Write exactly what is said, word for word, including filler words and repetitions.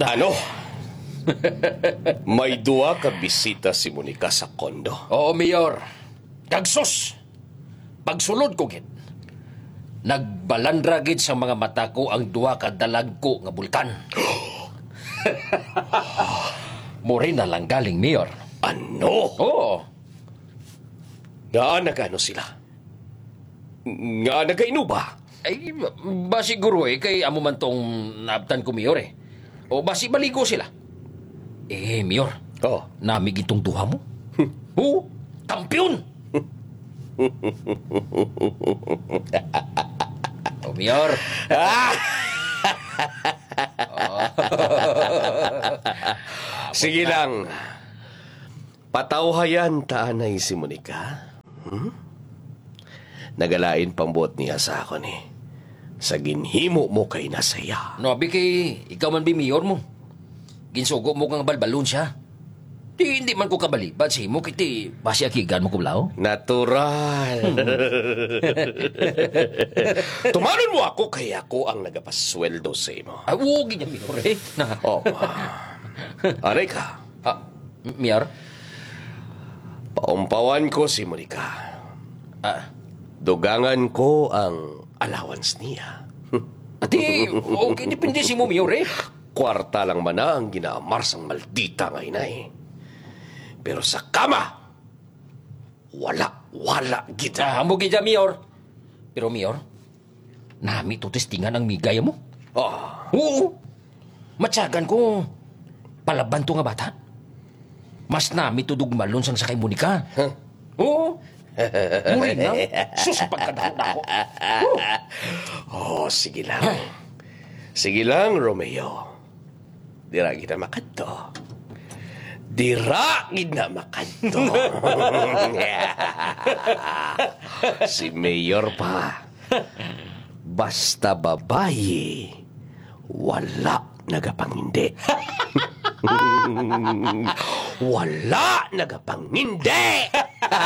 Ano? May duha ka bisita si Monica sa kondo. Oo, Mayor. Kag sus, pagsulod ko gid, nagbalandra gid sa mga mata ko ang duha ka dalagko nga bulkan. Muri na lang galing, Mayor. Ano? Oo. Ngaa nagano sila? Ngaa nagainuba? Ay, ba, ba siguro eh, kay amo man tong naabtan ko, Mayor eh. O basi maligo sila. Eh, Mayor, Oh. Nami gid tong duha mo. Oo, kampiyon! O, Mayor. Ah! Oh. Sige lang. Patawhayan ta anay si Monica. Hmm? Nagalain pang buot niya sa akon eh. Sa ginhimo mo kay na sa iya. No, abi kay ikaw man bi mayor mo. Ginsugo mo nga balbalon siya. Di, hindi man ko kabalibad sa imo, kay ti basi akigan mo ko, Lao. Natural. Tumanon mo ako kay ako ang nagapasweldo sa imo. Ah, oo, gid, Mayor, eh. Na. Oh, ma. Aray ka. Ah, Mayor? Paumpawan ko si Monica. Ah. Dugangan ko ang allowance niya. Ati, okay, depende sa imo, Mayor, eh. Kwarta lang man na ang ginaamar sang maldita nga inay. Pero sa kama, wala, wala gid. Ah, amo gid, Mayor. Pero, Mayor, nami to testingan ang migay mo. Ah. Oo. Matyagan ko, palaban to nga bata. Mas nami to dugmalon sang sa kay Monica. Huh? Oo. Muri na. Sus, pagkadako-dako. Oh. Oh, sige lang. Sige lang, Romeo. Dira gid na makadto. Dira gid na makadto. Si Mayor pa. Basta babayi, wala nagapangindi. Wala nagapangindi.